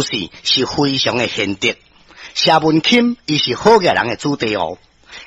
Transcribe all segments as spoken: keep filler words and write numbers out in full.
楊氏是非常的賢德。謝文欽伊是好額人的子弟哦。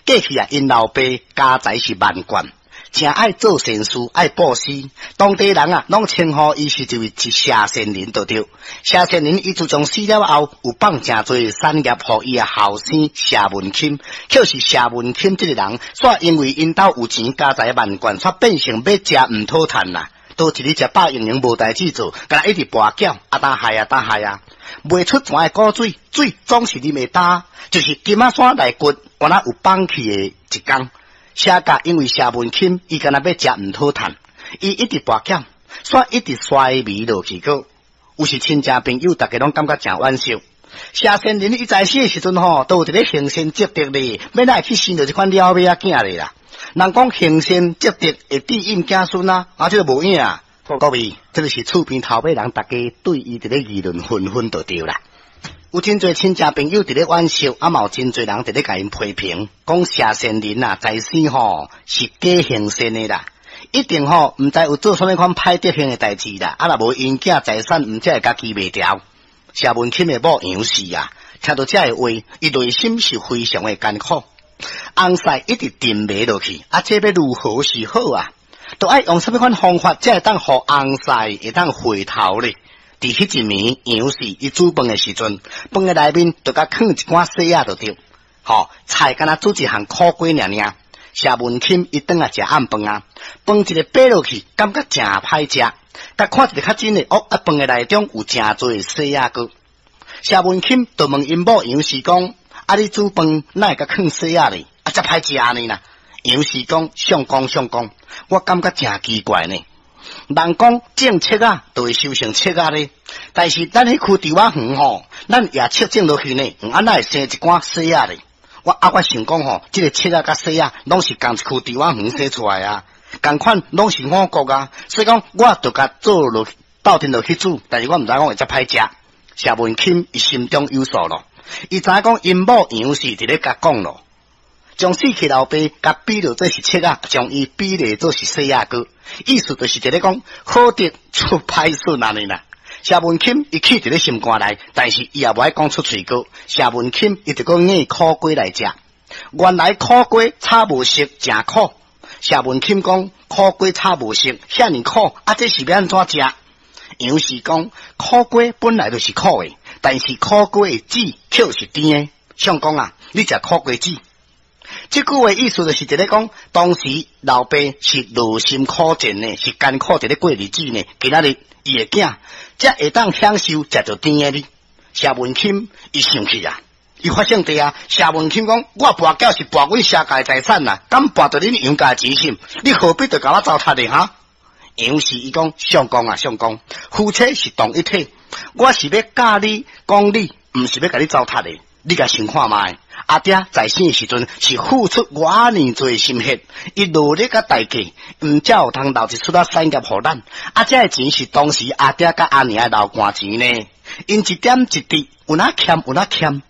過去啊，𪜶老爸家財是萬貫，誠愛做善事，愛布施。當地人啊，攏稱呼伊是一位一謝善人就對。謝善人伊自從死了後，有放誠濟產業予伊的後生謝文欽。可是謝文欽這個人，煞因為𪜶兜有錢家財萬貫，煞變成欲食毋討趁啦。都一日食飽閒閒無代誌做，干焦一直跋筊，啊焦害啊焦害啊，袂出泉的古水，水總是啉會焦，就是金仔山內骨，敢若有放棄的一工。謝家因為謝文欽，伊干焦欲食毋討趁，伊一直跋筊，煞一直衰微落去閣。有時親戚朋友逐家攏感覺誠惋惜。謝善人伊在世的時陣吼，都有一个行善積德咧，欲哪會去生著這款了尾仔囝咧啦。人講行善積德會庇蔭子孫啊，啊，這個無影啊。各位，這個是厝邊頭尾人，逐家對伊佇咧議論紛紛就對啦。有真濟親戚朋友佇咧惋惜，啊嘛有真濟人佇咧共𪜶批評，講謝善人啊，在生吼是假行善的啦，一定吼毋知有做啥物款歹德行的代誌啦，啊若無𪜶囝財產毋才會家己賣掉。謝文欽的某楊氏啊，聽著這个話，伊內心是非常的艱苦。翁婿一直沉迷落去，啊，這欲如何是好啊？著愛用啥物款方法，才會當予翁婿會當回頭咧？佇彼一暝，楊氏伊煮飯的時陣，飯的內面就共囥一寡雪仔就對，吼，菜干焦煮一項苦瓜爾爾。謝文欽伊轉來食暗飯啊，飯一个掰落去，感覺誠歹食。共看一个較真的，哦，啊，飯的內中有誠濟雪仔閣。謝文欽就問𪜶某楊氏講：啊，你煮飯哪會共囥雪仔咧？啊，遮歹食呢啦。楊氏講：相公相公，我感覺誠奇怪呢。人講種粟仔就會收成粟仔咧，但是咱彼區稻仔園吼，咱也粟種落去呢，啊，哪會生一寡雪仔咧？我啊，我想講吼，這个粟仔佮雪仔攏是仝一區稻仔園生出來啊，仝款攏是五穀啊，所以講我就共做落鬥陣落去煮，但是我毋知講會遮歹食。謝文欽伊心中有數咯，伊知影講𪜶某楊氏佇咧共講咯，將死去老爸共比喻做是粟仔，將伊比喻做是雪仔糕，意思就是佇咧講好德出歹孫按呢啦。謝文欽伊氣佇咧心肝內，但是伊也無愛講出喙閣。謝文欽伊就閣硬苦瓜來食，原來苦瓜炒無熟，誠苦。謝文欽講苦瓜炒無熟，遐爾苦，啊，這是欲按怎食？楊氏講苦瓜本來就是苦的，但是苦瓜的籽卻是甜的。相公啊，你食苦瓜籽。這句話意思就是佇咧講，當時老爸是勞心苦戰的，是艱苦佇咧過日子呢。今仔日伊的囝才會當享受食著甜的呢。謝文欽伊生氣啊，伊發性地啊。謝文欽講：我跋筊是跋阮謝家的財產啊，敢跋著恁楊家的錢心？你何必著共我糟蹋咧？哈？楊氏伊講：相公啊，相公，夫妻是同一體，我是欲教你講理，毋是欲共你糟蹋的。你共想看覓？阿爹在生的時陣是付出偌爾濟心血，伊努力佮代價，毋才有通留一撮仔產業予咱。啊，這个錢是當時阿爹佮阿娘的流汗錢呢。𪜶一點一滴有哪欠有哪欠，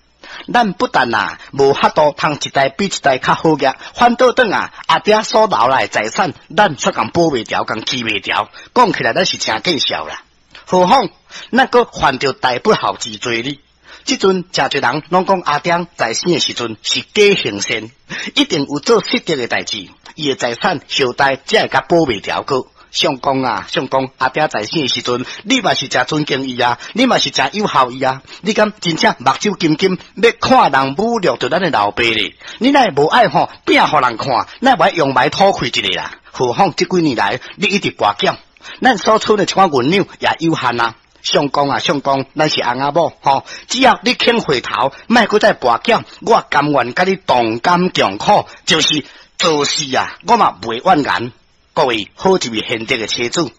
咱不但啊無法度通一代比一代較好額，反倒轉啊，阿爹所留來的財產，咱卻共保袂牢，共記袂牢。講起來，咱是誠見笑啦。何況咱閣犯著大不孝之罪呢？這陣誠濟人攏講阿爹在生的時陣是假行善，一定有做失德的代誌，伊的財產後代才會共保袂牢閣。相公啊，相公，阿爹在生的時陣，你嘛是誠尊敬伊啊，你嘛是誠友好伊啊，你敢真正目睭金金欲看人侮辱著咱的老爸咧？你哪會無愛吼拚予人看？哪會無愛揚眉吐氣一下啦？何況這幾年來，你一直跋筊，咱所賰的一寡銀兩也有限啊。相公啊，相公，咱是翁仔某吼，只要你肯回頭，莫閣再跋筊，我甘願佮你同甘共苦，就是做死啊，我嘛袂怨言。各位好一位賢德的妻子，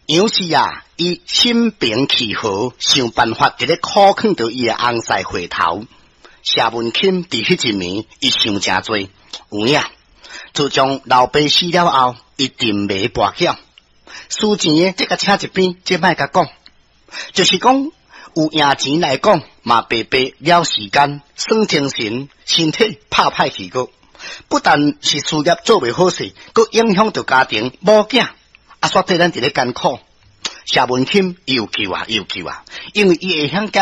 楊氏啊，伊心平氣和，想辦法佇咧苦勸著伊的翁婿回頭。謝文欽佇彼一暝，伊想誠濟，有影。自從老爸死了後，伊沉迷跋筊，輸錢的這共請一邊，這莫共講。就是講有贏錢來講，嘛白白了時間，損精神，身體拍歹去閣。不但是事業做袂好勢，閣影響著家庭某囝，啊，煞對咱佇咧艱苦。謝文欽伊有救啊，伊有救啊，因為伊會曉檢。